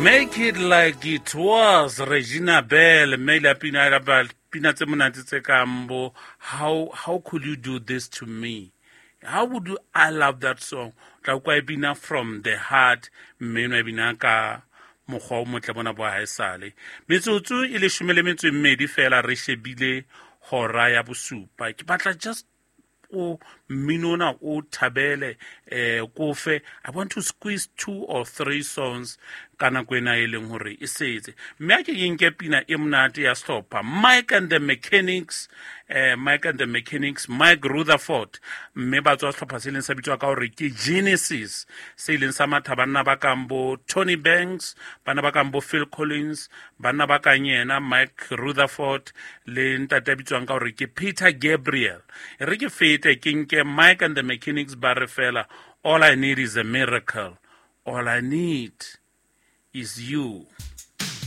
Make it like it was Regina Bell mme ile a pina ya ba pina tse monate tse kang bo how could you do this to me, how would you, I love that song. Tla kwa e bina from the heart, mme no e bina ka mokgwa o motle bona bo haesale. Metsotso e 12 fela re shebile hora ya bosupa. Ke batla just o mmino ona o thabele kofe. I want to squeeze 2 or 3 songs ka nako ena e leng hore e setse, mme a ke ke nke pina e monate ya sehlopha Mike and the Mechanics, Mike and the Mechanics, Mike Rutherford, mme ba tswa sehlopha se leng sa bitswa ka hore ke Genesis, se ileng sa matha banna ba kang bo Tony Banks, banna ba kang bo Phil Collins, banna ba kang yena Mike Rutherford le ntate a bitswang ka hore ke Peter Gabriel. E re ke fete ke nke Mike and the Mechanics ba re fela, all I need is a miracle, all I need is you.